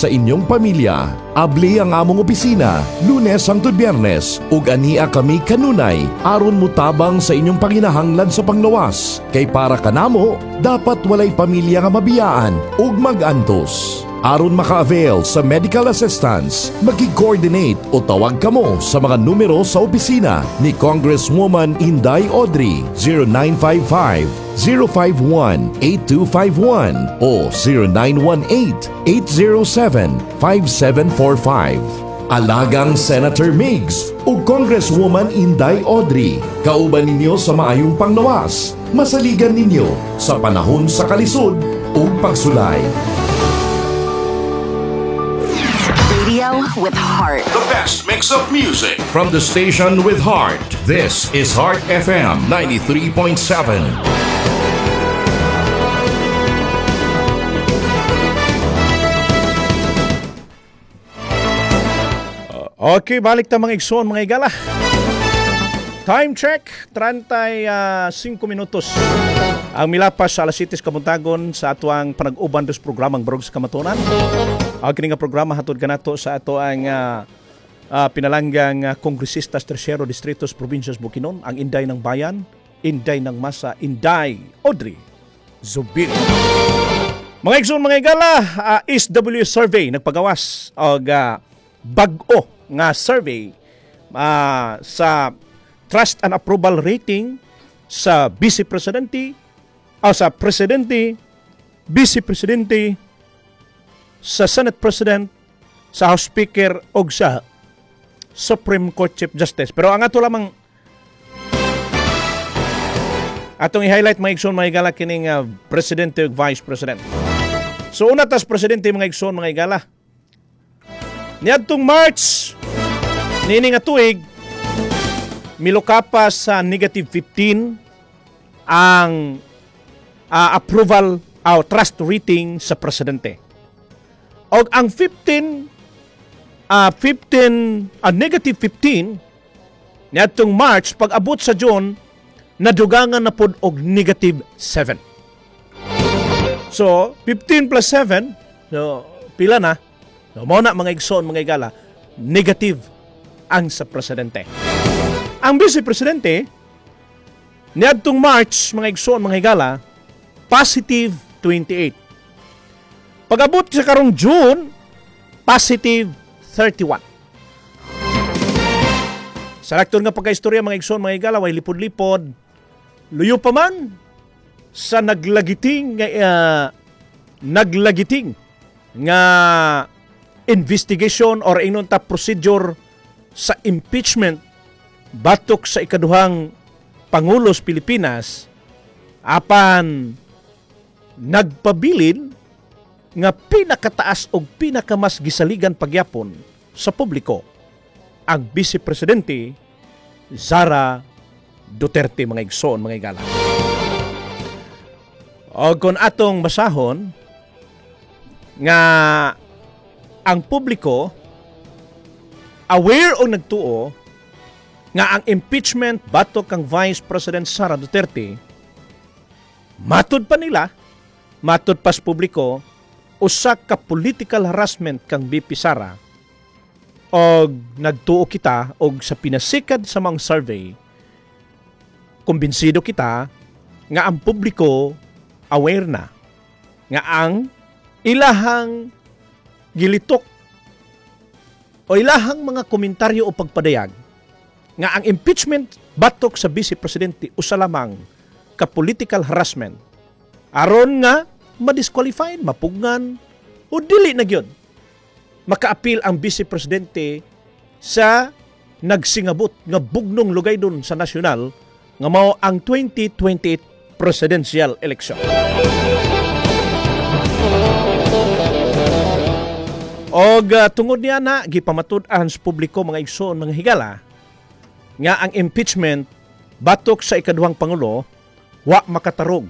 sa inyong pamilya. Abli ang among opisina, Lunes hangtod Biyernes, ug ania kami kanunay aron mutabang sa inyong panginahanglan sa panglawas. Kay para kanamo, dapat walay pamilya nga mabiyaan ug mag-antos. Aron maka-avail sa medical assistance, maki-coordinate o tawag kamo sa mga numero sa opisina ni Congresswoman Inday Audrey, 0955 051 8251 o 0918 807 5745. Alagang Senator Migs o Congresswoman Inday Audrey, kauban ninyo sa maayong panglawas, masaligan ninyo sa panahon sa kalisod ug pagsulay. Radio with heart. The best mix of music from the station with heart. This is Heart FM 93.7. Okay, balik ta, mga igsoon, mga igala. Time check, 35 minutos ang milapas sa alas 7 kabuntagon sa atuang panag-uban dos programang Barog sa Kamatuoran. Ang kini nga programa hatod kanato sa ato ang pinalanggang kongresista sa Tercero Distrito sa Probinsya sa Bukidnon, ang Inday ng Bayan, Inday ng Masa, Inday Audrey Zubiri. Mga igsoon, mga igala, SW Survey nagpagawas og bag-o nga survey sa trust and approval rating sa Vice Presidente, o sa Presidente, Vice Presidente, sa Senate President, sa House Speaker og sa Supreme Court Chief Justice. Pero ang ato lamang atong i-highlight, mga igsoon, mga igala, kining Presidente ug Vice President. So una tas Presidente, mga igsoon, mga igala. Niadtong March niini nga tuig, miluka pa sa negative 15 ang approval o trust rating sa presidente. Og ang 15 15 negative 15 niadtong March, pag abot sa June nadugangan na pod og negative 7. So 15 plus 7, so pila na? So mao na, mga igsoon, mga igala, negative ang sa presidente. Ang vice presidente niadtong March, mga igsoon, mga higala, positive 28. Pag-abot sa karong June, positive 31. Sa lakton nga pagkaistorya, mga igsoon, mga higala, way lipod-lipod, luyo pa man sa naglagiting nga investigation or ingnon ta procedure sa impeachment batok sa ikaduhang Pangulo sa Pilipinas, apan nagpabilin nga pinakataas og pinakamas gisaligan pagyapon sa publiko ang Vice Presidente Sara Duterte, mga igsoon, mga igala. O kung atong basahon nga ang publiko aware o nagtuo nga ang impeachment batok kang Vice President Sara Duterte, matud pa nila, matud pa sa publiko, usa ka political harassment kang VP Sara, og nagtuo kita og sa pinasikad sa mga survey, kumbinsido kita nga ang publiko aware na nga ang ilahang gilitok o ilahang mga komentaryo o pagpadayag nga ang impeachment batok sa Vice Presidente usa lamang ka political harassment aron nga madisqualified, mapugngan o dili na gyud makaapil ang Vice Presidente sa nagsingabot nga bugnong lugay dun sa nasyonal nga mao ang 2028 presidential election. Og tungod niya na gipamatud-an sa publiko, mga igsoon, mga higala, nga ang impeachment batok sa ikaduhang pangulo wa makatarog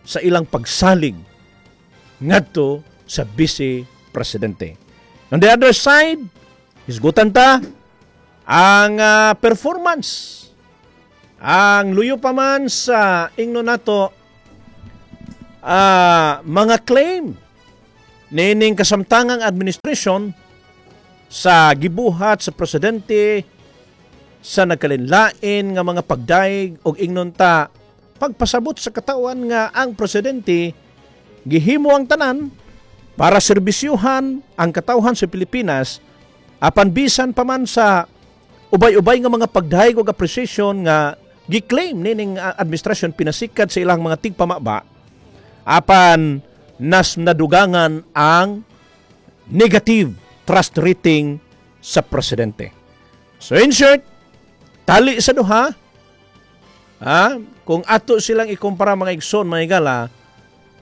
sa ilang pagsalig ngadto sa Vice Presidente. On the other side, hisgutan ta ang performance. Ang luyo pa man sa ingno nato mga claim niining kasamtangang administration sa gibuhat sa presidente sa nagkalinlain nga mga pagdaig og ingnon ta pagpasabot sa katawan nga ang presidente gihimo ang tanan para serbisyuhan ang katawhan sa Pilipinas, apan bisan pa man sa ubay-ubay nga mga pagdayeg og appreciation nga gi-claim nining administrasyon pinasikat sa ilang mga tigpamaba, apan nas nadugangan ang negative trust rating sa presidente. So in short, tali sa duha, ha? Kung ato silang ikumpara, mga igsoon, mga higala,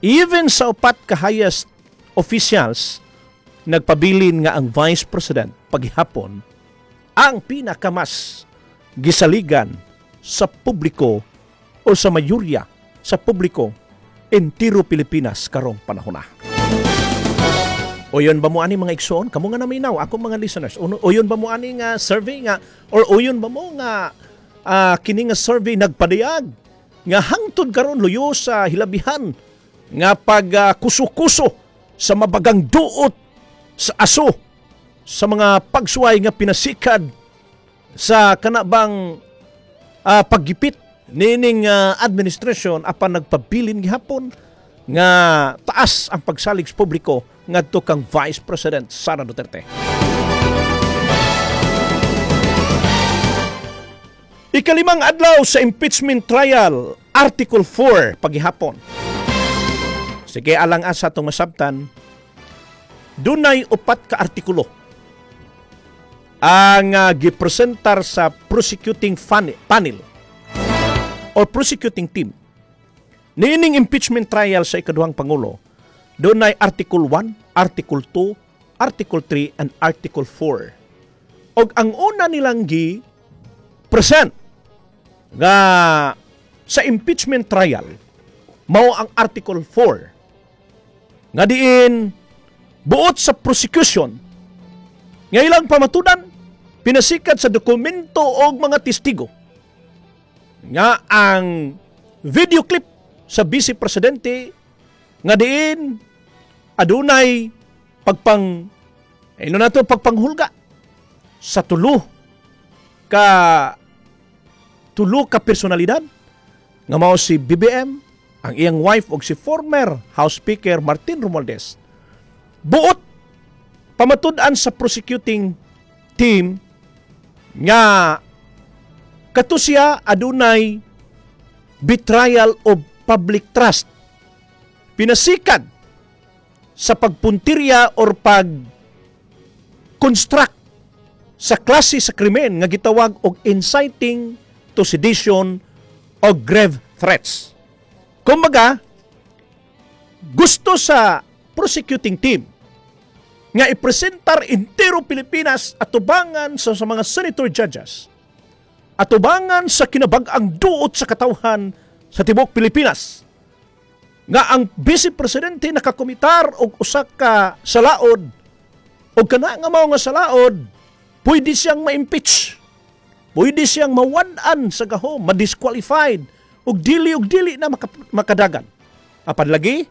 even sa upat ka highest officials, nagpabilin nga ang Vice President paghihapon ang pinakamas gisaligan sa publiko o sa mayorya sa publiko entiro Pilipinas karong panahon na. Uyon ba mo ani, mga igsoon? Kamo nga naminaw, ako mga listeners. Uyon ba mo ani nga survey nga or uyon ba mo nga kini nga survey nagpadayag nga hangtod karon, luyo sa hilabihan nga pag kuso-kuso sa mabagang duot sa aso sa mga pagsuway nga pinasikad sa kanabang paggipit nining administrasyon, apan nagpabilin gihapon nga taas ang pagsalig sa publiko ngadto kang Vice President Sara Duterte? Ikalimang adlaw sa impeachment trial, Article 4 paghihapon. Sige, alang asa itong masabtan, dunay upat ka artikulo ang gipresentar sa prosecuting panel or prosecuting team. Niining impeachment trial sa ikaduhang pangulo, dunay Article 1, Article 2, Article 3 and Article 4. Og ang una nilang gi present nga sa impeachment trial mao ang Article 4 nga diin buot sa prosecution nga ilang pamatudan pinasikat sa dokumento og mga testigo nga ang video clip sa vice presidente nga diin adunay pagpang ino nato pagpanghulga sa tulo ka personalidad nga mao si BBM, ang iyang wife og si former House Speaker Martin Romualdez. Buot pamatud-an sa prosecuting team nga kato siya adunay betrayal of public trust pinasikad sa pagpuntirya or pag construct sa klase sa krimen nga gitawag og inciting to sedition o grave threats. Kumbaga, gusto sa prosecuting team nga ipresentar entero Pilipinas atubangan sa mga senator judges, atubangan sa kinabag-ang duot sa katawhan sa tibuok Pilipinas nga ang vice presidente nakakomitar og usa ka salaod og kana nga mao nga salaod pwede siyang ma-impeach, pwede siyang mawad-an sa gahom, ma-disqualified ug dili na makadagan. Apan lagi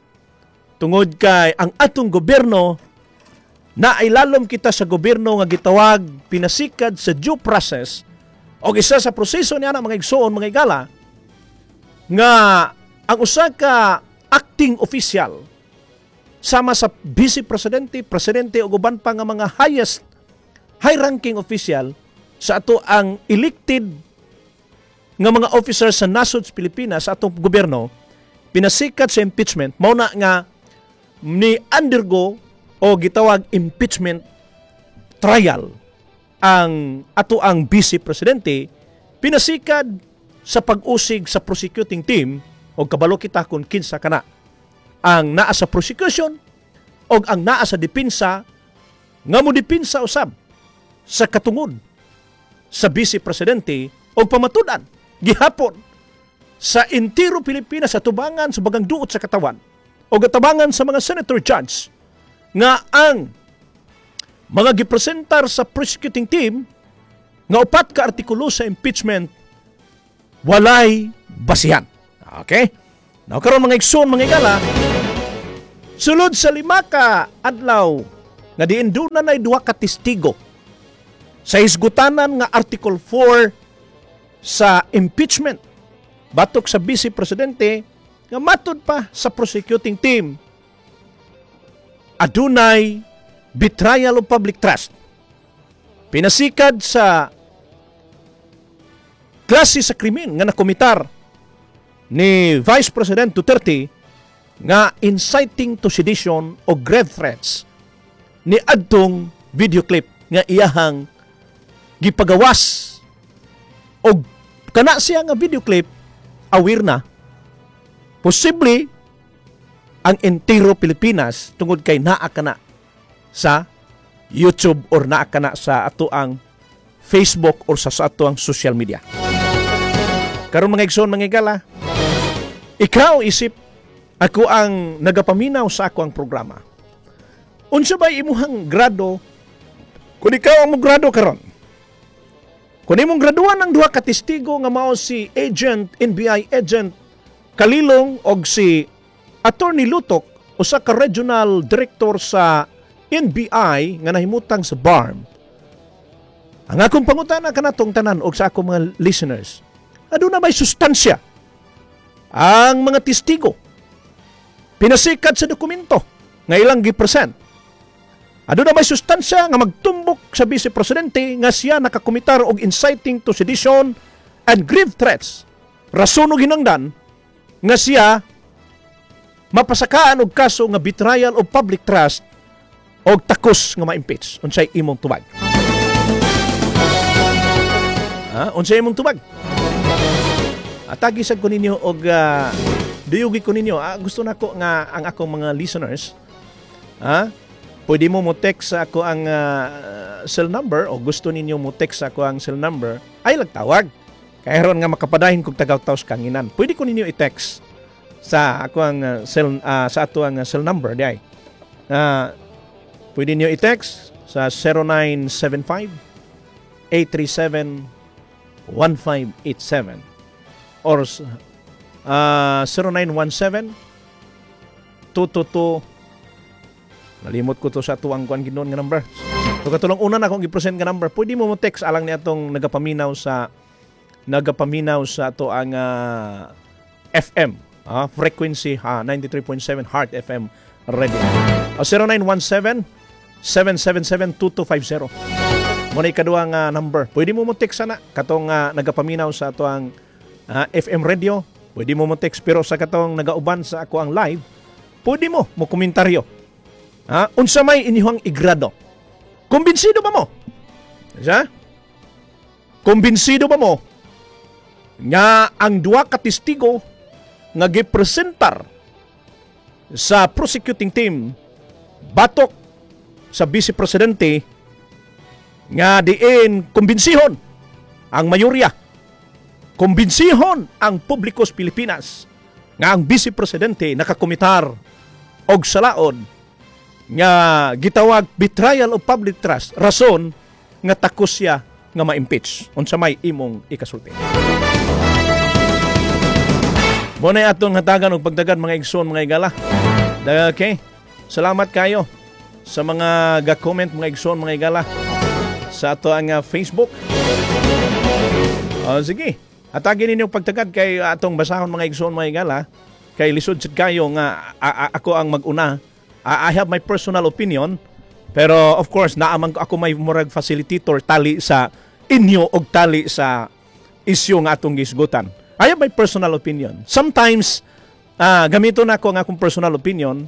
tungod kay ang atong gobyerno na ilalom kita sa gobyerno nga gitawag pinasikad sa due process, og isa sa proseso niya na, mga igsoon, mga igala, nga ang usa ka acting official sama sa vice presidente, presidente ug uban pa nga mga highest high ranking official sa ato ang elected nga mga officers sa nasod sa Pilipinas, sa atong gobyerno, pinasikat sa impeachment, mao na nga ni undergo o gitawag impeachment trial ang ato ang vice presidente pinasikad sa pag-usig sa prosecuting team. Og kabalo kita kung kinsa kana ang naa sa prosecution og ang naa sa depensa nga mo depensa usab sa katungod sa vice presidente, og pamatud-an gihapon sa entiro Pilipinas sa tubangan sa bagang duot sa katawan o gatabangan sa mga senator judge nga ang mga gipresentar sa prosecuting team nga upat ka artikulo sa impeachment walay basihan. Okay? Now karon, mga igsoon, mga igala, Sulod sa 5 ka adlaw nga diin duna nay duha ka testigo sa hisgutanan nga Article 4 sa impeachment batok sa Vice Presidente, nga matud pa sa prosecuting team adunay betrayal of public trust pinasikad sa klase sa krimen nga nakomitar ni Vice President Duterte nga inciting to sedition o grave threats ni adtong video clip nga iyahang gipagawas. Og kana siya nga video clip, aware na posible ang entero Pilipinas tungod kay naa kana sa YouTube or naa kana sa ato ang Facebook or sa ato ang social media. Karon, mga igsoon, mga igala, ikaw isip ako ang nagapaminaw sa ako ang programa. Unsa ba imuhang grado kung ikaw ang grado karon? Kung imong graduan ang duha ka testigo nga mao si agent NBI agent Kalilong og si Attorney Lotoc, usa ka regional director sa NBI nga nahimutang sa BARMM. Ang akong pangutana kanatong tanan og sa akong mga listeners, aduna may sustansya ang mga testigo pinasikat sa dokumento nga ilang gi-present? Aduna may sustansya nga magtumbok sa Vice Presidente nga siya nakakomitar og inciting to sedition and grave threats, rason og hinangdan nga siya mapasakaan og kaso nga betrayal of public trust og takos nga ma-impeach? Unsay imong tubag? Ha? Unsay imong tubag? Atagi sad ko ninyo og duyugi ko ninyo. Gusto nako nga ang akong mga listeners, pwede mo mo text sa ako ang cell number o gusto ninyo mo text sa ako ang cell number ay lagtawag. Kay ron nga makapadahin kog tagaw-taws kanginan. Pwede ko ninyo i-text sa ako ang cell sa ato ang cell number di ay. Pwede niyo i-text sa 0975 837 1587 or 0917 222. Nalimot ko to sa tuwang kuan ginon nga number. So katulong una na akong gi-present nga number, pwede mo mo text alang ni atong nagapaminaw sa ato ang FM, frequency 93.7 Heart FM Radio. 0917 777 2250. Mo na ikaduha nga number. Pwede mo mo text sana katong nagapaminaw sa ato ang FM radio. Pwede mo mo text, pero sa katong nagauban sa ako ang live, pwede mo mo komentaryo. Ha? Unsa may inyong igrado? Kumbinsido ba mo? Sa? Kumbinsido ba mo nga ang duha ka testigo nga gipresentar sa prosecuting team batok sa Vice Presidente nga diin kumbinsihon ang mayorya, kumbinsihon ang publiko sa Pilipinas nga ang Vice Presidente nakakomitar og salaod nga gitawag betrayal of public trust, rason nga takos siya nga ma-impeach? Unsa may imong ikasulti? Mo na atong hatagan og pagdagan, mga igsoon, mga igala. Okay. Salamat kayo sa mga ga-comment, mga igsoon, mga igala, sa ato ang Facebook. Oh, sige. Hatagin ninyo pagtagad kay atong basahon, mga igsoon, mga igala, kay lisod sad kayo nga ako ang mag-una. I have my personal opinion, pero of course naaman ko ako may murag facilitator tali sa inyo og tali sa isyu nga atong gisgutan. I have my personal opinion. Sometimes gamito na ako ang akong personal opinion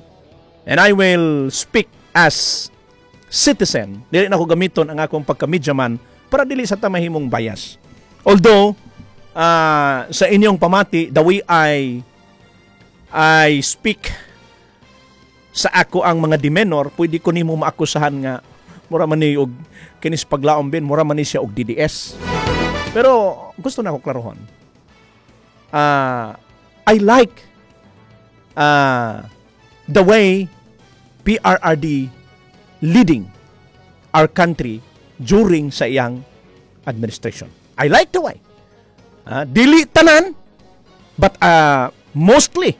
and I will speak as citizen. Dili na ako gamiton ang akong pagka-mediaman para dili sa ta mahimong bias. Although sa inyong pamati, the way I speak sa ako ang mga demeanor, pwede ko nimo maakusahan nga mura man ni og kinis paglaom bin, mura man ni siya og DDS. Pero gusto na ako klarohon. I like the way PRRD leading our country during sa iyang administration. I like the way. Dili tanan, but mostly,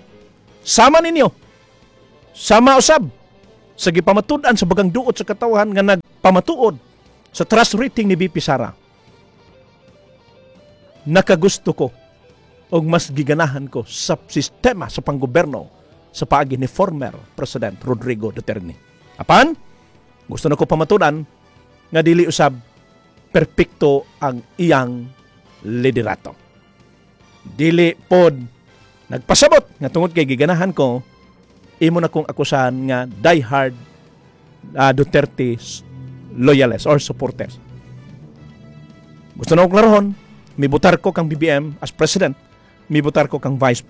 sama ninyo. Sama usab sa gipamatud-an sa bagang duot sa katawhan nga nagpamatuod sa trust rating ni VP Sara. Nakagusto ko og mas giganahan ko sa sistema sa panggoberno sa paagi ni former President Rodrigo Duterte. Apan, gusto na ko pamatudan nga dili usab perpekto ang iyang liderato. Dili pod nagpasabot nga tungod kay giganahan ko, imo na kong akusahan nga diehard Duterte loyalist or supporters. Gusto na kong klarohon, mibutar ko kang BBM as president, mibutar ko kang Vice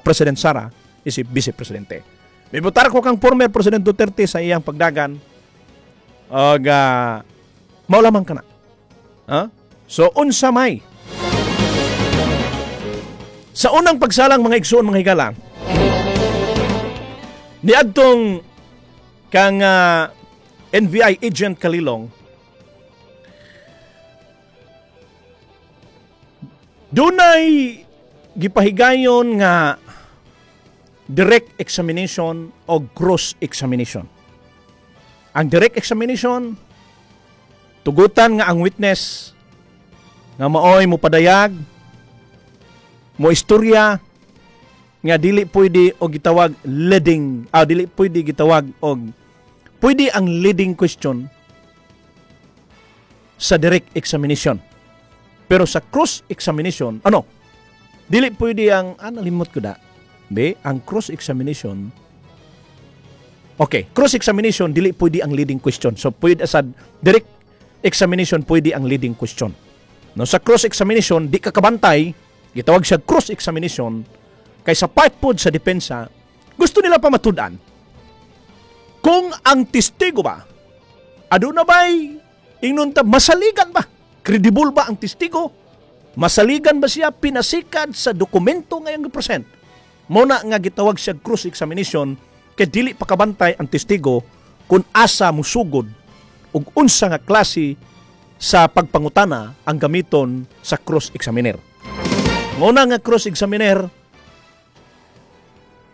President Sara isip vice presidente. Mibutar ko kang former President Duterte sa iyang pagdagan og mao lamang kana. Ha? So unsa may sa unang pagsalang, mga igsoon, mga higala, niadtong kang NBI agent Kalilong, dunay gipahigayon nga direct examination o cross examination. Ang direct examination, tugutan nga ang witness nga maoy mo padayag, mo istorya nga dili pwede og gitawag leading, dili pwede gitawag og pwede ang leading question sa direct examination. Pero sa cross examination, ano? Dili pwede ang nalimot ko da. Be, ang cross examination. Okay, cross examination dili pwede ang leading question. So pwede sa direct examination pwede ang leading question. No, sa cross examination di ka kabantay, gitawag siya cross examination kay sa part pod sa depensa gusto nila pamatud-an kung ang testigo ba aduna bay ingnon ta masaligan ba, credible ba ang testigo, masaligan ba siya pinasikad sa dokumento nga iyang gipresent. Mo na nga gitawag siya cross examination kay dili pa kabantay ang testigo kung asa musugod ug unsa nga klase sa pagpangutana ang gamiton sa cross examiner. Nguna nga cross examiner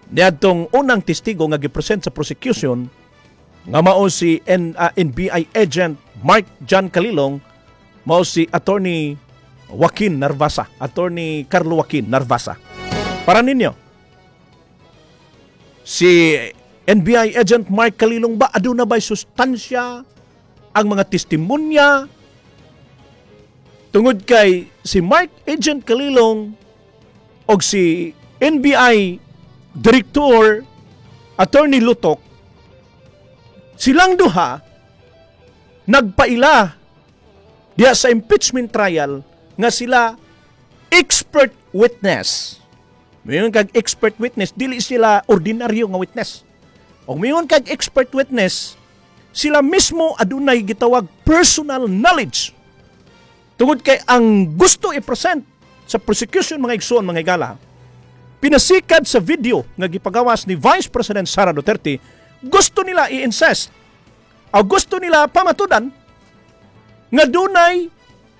niadtong unang testigo nga gipresent sa prosecution nga mao si NBI agent Mark John Kalilong, mao si Attorney Joaquin Narvasa, Attorney Carlo Joaquin Narvasa. Para ninyo, si NBI agent Mark Kalilong ba aduna ba'y sustansya ang mga testimonya? Tungod kay si Mark Agent Kalilong og si NBI Director Attorney Lotoc, silang duha nagpaila diya sa impeachment trial nga sila expert witness. Mayon kag expert witness, dili sila ordinaryo nga witness. Og mayon kag expert witness, sila mismo adunay gitawag personal knowledge. Tungod kay ang gusto i-present sa prosecution, mga igsoon, mga higala, pinasikad sa video nga gipagawas ni Vice President Sara Duterte, gusto nila i-insist o gusto nila pamatudan nga dunay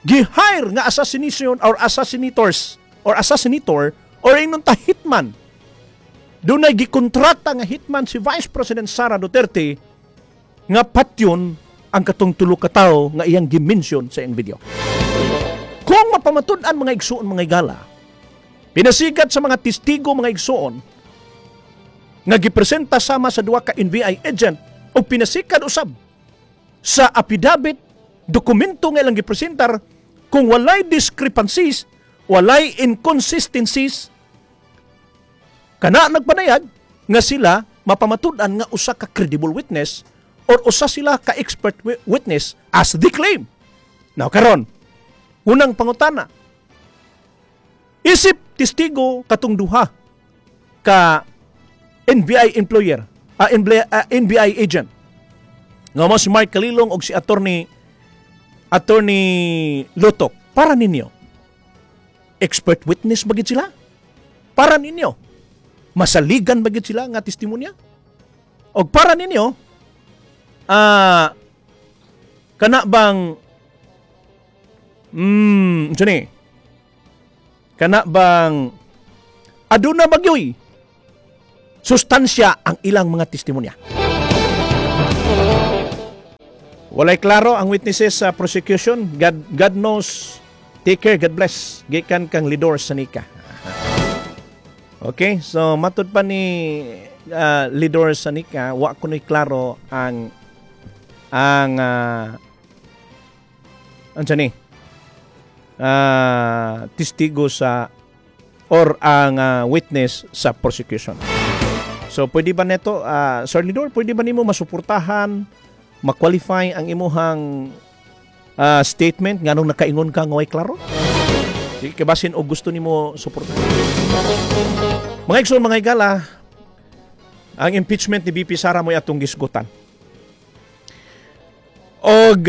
gi-hire nga assassination or assassinators or assassinator or ingnon ta hitman. Dunay gikontrata nga hitman si Vice President Sara Duterte nga patyon ang katong tulo ka tawo nga iyang gi-mention sa iyang video. Kung mapamatud-an, mga igsoon, mga higala, pinasikat sa mga testigo, mga igsoon, nga gipresenta sama sa duha ka NBI agent o pinasikat usab sa affidavit, dokumento nga ilang gipresentar, kung walay discrepancies, walay inconsistencies, kana nagpanayag nga sila mapamatud-an nga usa ka credible witness or usa sila ka expert witness as they claim. Now karon, unang pangutana, isip testigo katong duha ka NBI employer, NBI agent nga mo si Mark Kalilong og si Attorney Lotoc, para ninyo, expert witness ba gid sila? Para ninyo, masaligan ba gid sila nga testimonya? Og para ninyo, kana bang unsa ni? Kana bang aduna bagyoy Sustansya ang ilang mga testimonya. Walay klaro ang witnesses sa prosecution. God knows. Take care, God bless. Gikan kang Lidor Sanika. Okay, so matud pa ni Lidor Sanika, wa kuno'y klaro ang unsa ni testigo sa or ang witness sa prosecution. So pwede ba neto, Sir Lidor, pwede ba nimo masuportahan, ma-qualify ang imuhang statement nganong nakaingon ka nga way klaro? Sige, kabasin og gusto nimo suportahan. Mga igsoon, mga higala, ang impeachment ni VP Sara mo'y atong gisgutan. Og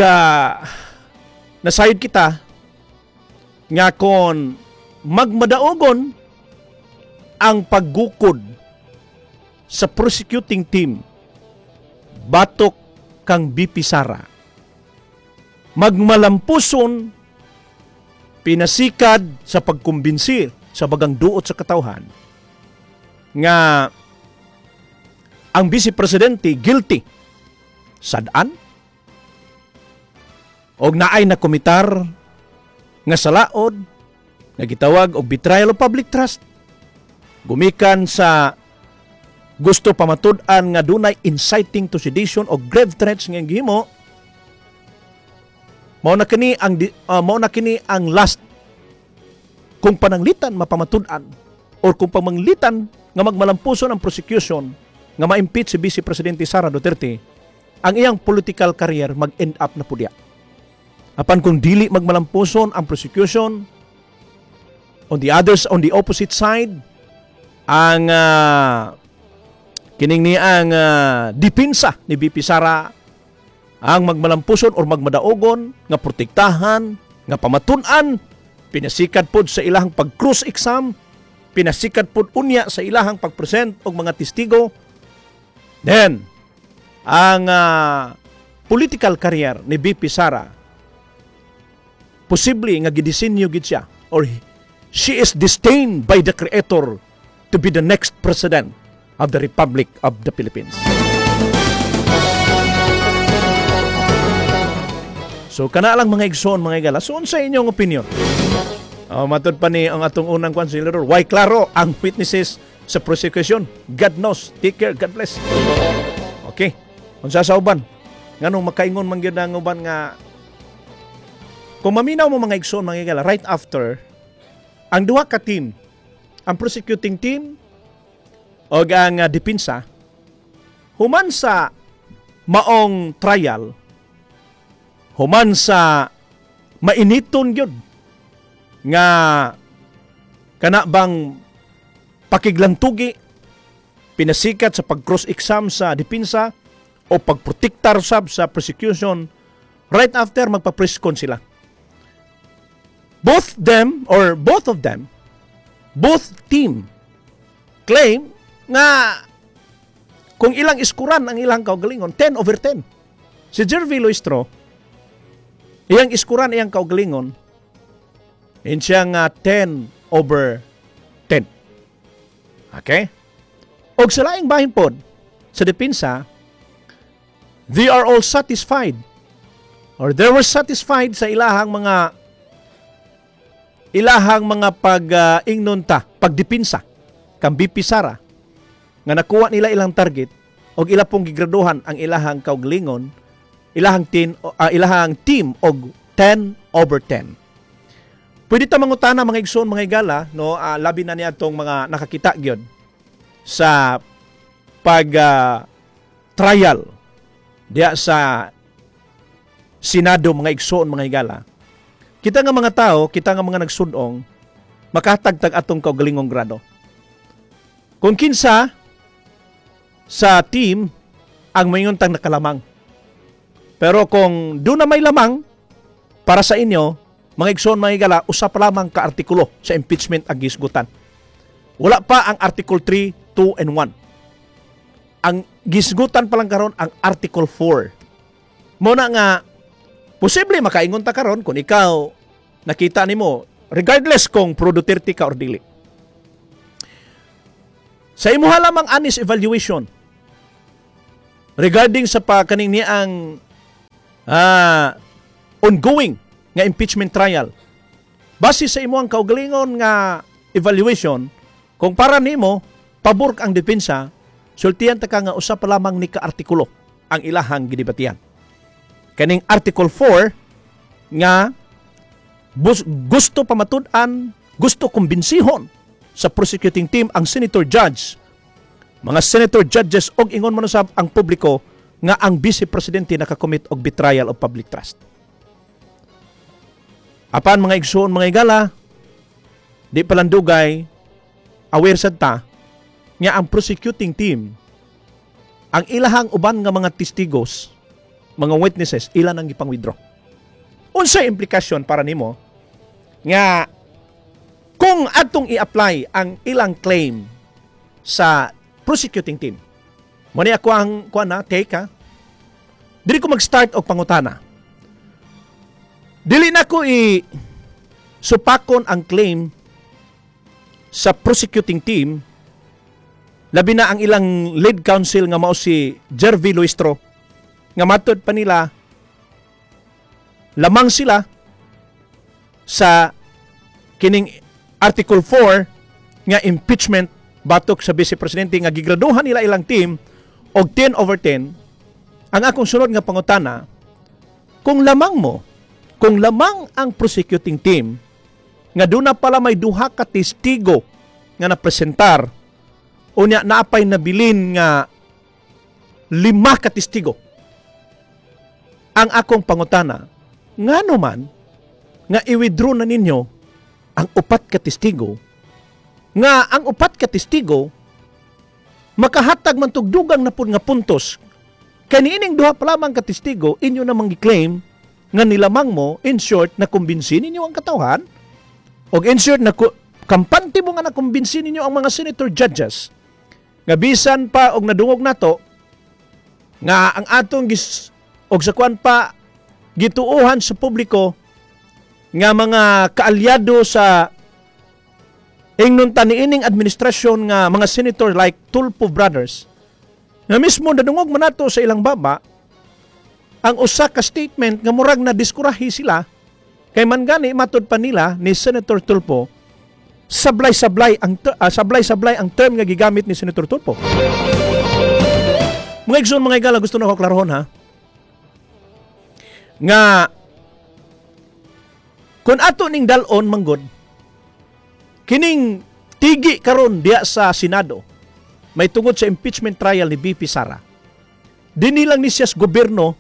nasayod kita nga kon magmadaogon ang paggukod sa prosecuting team batok kang VP Sara, magmalampuson pinasikad sa pagkumbinsir sa bagang duot sa katawhan nga ang Vice Presidente guilty sad-an og naay na komitar nga salaod nga gitawag og betrayal of public trust gumikan sa gusto pamatud-an nga dunay inciting to sedition o grave threats nga gihimo. Mao na kini ang last kung pananglitan mapamatud-an or kung pamanglitan nga magmalampuson ang prosecution nga ma-impeach si Vice Presidente Sara Duterte, ang iyang political career mag-end up na pud diha. Apan kung dili magmalampuson ang prosecution, on the opposite side, ang kining ni ang depensa ni VP Sara ang magmalampuson or magmadaogon nga protektahan, nga pamatun-an pinasikat pod sa ilahang pag-cross exam, pinasikat pod unya sa ilahang pag-present og mga testigo, then ang political career ni VP Sara, posible nga gidisenyo gid siya or she is destined by the Creator to be the next president of the Republic of the Philippines. So kana lang, mga igsoon, mga higala. So unsa inyong opinion? Oh, matod pa ni ang atong unang kwan si Leroy. Why klaro ang witnesses sa prosecution? God knows. Take care. God bless. Okay. Unsa sa uban? Nganong makaingon man gyud ang uban nga kung maminaw mo, mga igsoon, mga higala, right after ang duha ka team, ang prosecuting team o ang depensa, human sa maong trial, human sa mainiton gyud nga kana bang pakiglantugi pinasikat sa pag-cross exam sa depensa o pagprotektar sab sa prosecution, right after magpa-press con sila, both them or both of them, both team claim nga kung ilang iskuran ang ilang kaugalingon, 10 over 10. Si Jervy Luistro, iyang iskuran iyang kaugalingon, in siya nga 10 over 10. Okay? Og sa laing bahin pod, sa depensa, they are all satisfied or they were satisfied sa ilahang mga pag-ingnon ta, pagdepinsa kang VP Sara nga nakuha nila ilang target og ila pong gigraduhan ang ilahang kaugalingon, ilahang team og 10 over 10. Pwede ta mangutana, mga igsoon, mga higala, no, labi na niya atong mga nakakita gyud sa pag trial diya sa Senado, mga igsoon, mga higala. Kita nga mga tao, kita nga mga nagsudong, makatagtag atong kaugalingong grado. Kung kinsa sa team ang maingon tang nakalamang. Pero kung doon na may lamang para sa inyo, mga igsoon, mga higala, usa pa lamang ka artikulo sa impeachment ang gisgutan. Wala pa ang Article 3, 2, and 1. Ang gisgutan pa lang karon ang Article 4. Mao na nga posible makaingon ta karon kung ikaw nakita nimo, regardless kung pro Duterte ka or dili. Sa imuha lamang honest evaluation regarding sa pa kaning niang ongoing nga impeachment trial, base sa imuhang kaugalingon nga evaluation, kung para nimo pabor ang depensa, sultian ta ka nga usa pa lamang ni ka artikulo ang ilahang gidebatihan. Kaning Article 4 nga gusto pamatud-an, gusto kumbinsihon sa prosecuting team ang senator judge, mga senator judges og ingon man usab ang publiko nga ang vice presidente nakakommit og betrayal of public trust. Apan, mga igsoon, mga igala, di palandugay, aware sad ta nga ang prosecuting team, ang ilahang uban nga mga testigos, mga witnesses, ila nang gipang-withdraw. Unsay implikasyon para nimo nga kung atong i-apply ang ilang claim sa prosecuting team? Mo ni ako ang kuan na take ha. Dili ko mag-start og pangutana. Dili na ko i supakon ang claim sa prosecuting team, labi na ang ilang lead counsel nga mao si Jervy Luistro, nga matod pa nila lamang sila sa kining Article 4 nga impeachment batok sa Vice Presidente nga gigraduhan nila ilang team og 10 over 10. Ang akong sunod nga pangutana, kung lamang mo, kung lamang ang prosecuting team nga duna pala may duha ka testigo nga napresentar, unya naapay nabilin nga lima ka testigo, ang akong pangutana, ngano man nga i-withdraw na ninyo ang upat ka testigo, nga ang upat ka testigo makahatag man tugdugang na pud nga puntos kay niining duha pa lamang ka testigo inyo namang gi-claim nga nilamang mo? In short, na kumbinsi ninyo ang katawhan og in short na kampante mo nga nakumbinsi ninyo ang mga senator judges nga bisan pa og nadungog nato nga ang atong gis og sa kuan pa gituohan sa publiko nga mga kaalyado sa ingnon ta niining administrasyon nga mga senator like Tulfo Brothers, nga mismo nadungog man nato sa ilang baba ang usa ka statement nga murag na diskurahi sila, kay man gani matud pa nila ni Senator Tulfo sablay-sablay ang term nga gigamit ni Senator Tulfo. Mga igsoon, mga igala, gusto na ko klarohon ha. Nga kung ato ning dal-on manggod kining tigi karon diya sa Senado may tungod sa impeachment trial ni VP Sara, dinhi lang ni siya sa gobyerno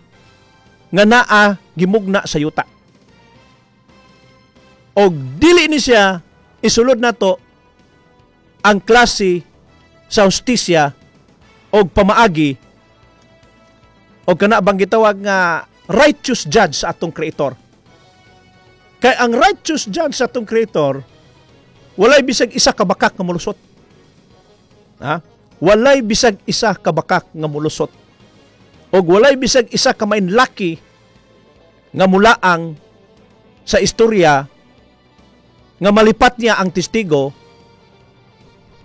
nga naa gimugna sa yuta. Og dili ni siya isulod nato ang klase sa hustisya og pamaagi og kana bang gitawag nga righteous judge sa atong creator. Kay ang righteous judge sa atong creator, walay bisag isa ka bakak nga molusot. Ha? Walay bisag isa ka bakak nga molusot. Og walay bisag isa ka mainlaki nga mulaang sa istorya nga malipat niya ang testigo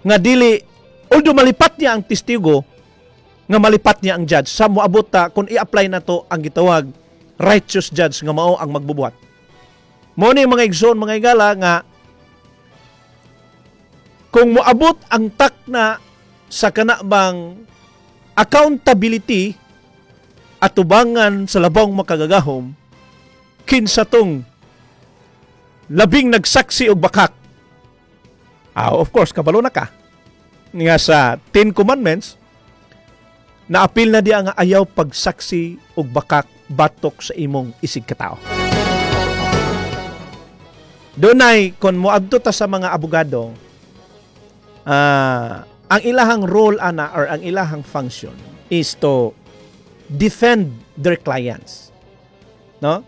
nga dili, although malipat niya ang testigo nga malipat niya ang judge sa moabot ta kung i-apply na to ang gitawag righteous judge nga mao ang magbubuhat. Mo ni, mga igsoon, mga igala, nga kung moabot ang takna sa kana bang accountability atubangan sa labong makagagahom, kinsa tong labing nagsaksi og bakak? Of course, kabalo na ka nga sa Ten Commandments naapil na diya nga ayaw pagsaksi og bakak batok sa imong isig katao. Dunay kon moadto ta sa mga abogado, ang ilahang role ana or ang ilahang function is to defend their clients. No?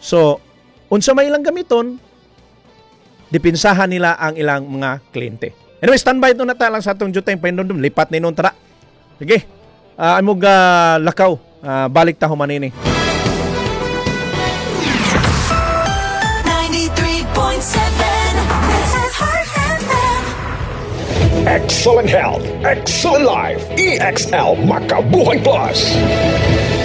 So, unsa may ilang gamiton, dipinsahan nila ang ilang mga kliyente. Anyway, standby to na ta lang sa atong jutay pahinumdum, lipat ni nun tara. Sige. Amog lakaw, balik ta human ini. 93.7. This is Heart FM. Excellent health, excellent life. EXL Makabuhay Plus.